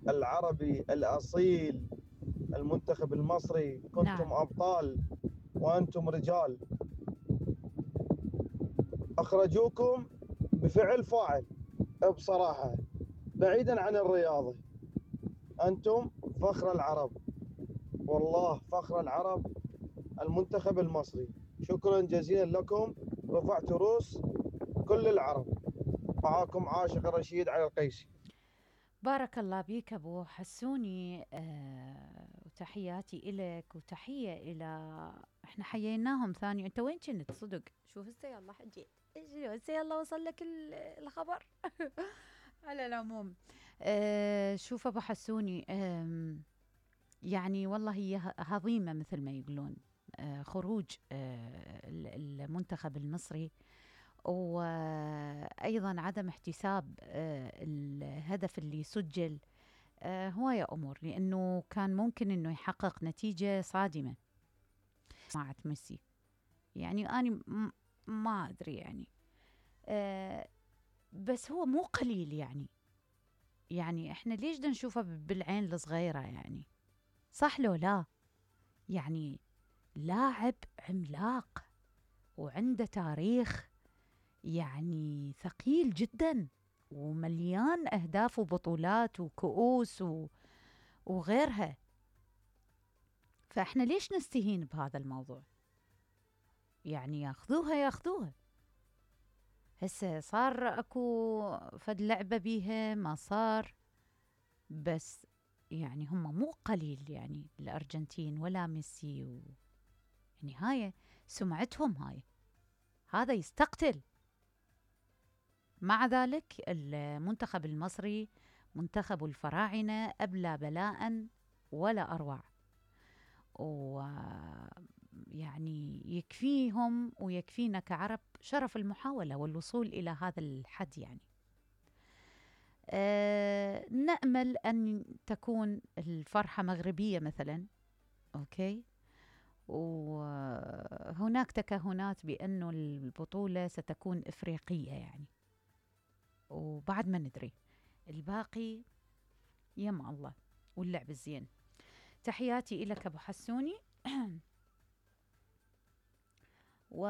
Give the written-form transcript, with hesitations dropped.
العربي الأصيل، المنتخب المصري. نعم. كنتم أبطال وأنتم رجال. أخرجوكم بفعل فاعل بصراحة، بعيدا عن الرياضة. أنتم فخر العرب، والله فخر العرب، المنتخب المصري. شكرا جزيلا لكم، رفعت رؤوس كل العرب. معاكم عاشق رشيد على القيسي. بارك الله بيك أبو حسوني، وتحياتي إلك وتحية إلى إحنا حييناهم ثاني. أنت وين كنت صدق؟ شوف هسه يلا حجيت، هسه يلا وصل لك الخبر. على العموم، شوف أبو حسوني، يعني والله هي هضيمة مثل ما يقولون، خروج المنتخب المصري، وأيضا عدم احتساب الهدف اللي سجل. هواية أمور، لأنه كان ممكن أنه يحقق نتيجة صادمة مع ميسي. يعني أنا ما أدري يعني، بس هو مو قليل يعني إحنا ليش دا نشوفه بالعين الصغيرة يعني؟ صح لو لا؟ يعني لاعب عملاق وعنده تاريخ يعني ثقيل جدا، ومليان أهداف وبطولات وكؤوس وغيرها. فإحنا ليش نستهين بهذا الموضوع؟ يعني ياخذوها. هسه صار اكو فد لعبة بيها ما صار، بس يعني هم مو قليل يعني الأرجنتين ولا ميسي يعني هاي سمعتهم، هذا يستقتل. مع ذلك المنتخب المصري منتخب الفراعنة أبلى بلاء ولا أروع، ويعني يكفيهم ويكفينا كعرب شرف المحاولة والوصول إلى هذا الحد يعني. نأمل أن تكون الفرحة مغربية مثلا، أوكي، وهناك تكهنات بأنه البطولة ستكون إفريقية يعني، وبعد ما ندري الباقي يم الله واللعب الزين. تحياتي إلك أبو حسوني. و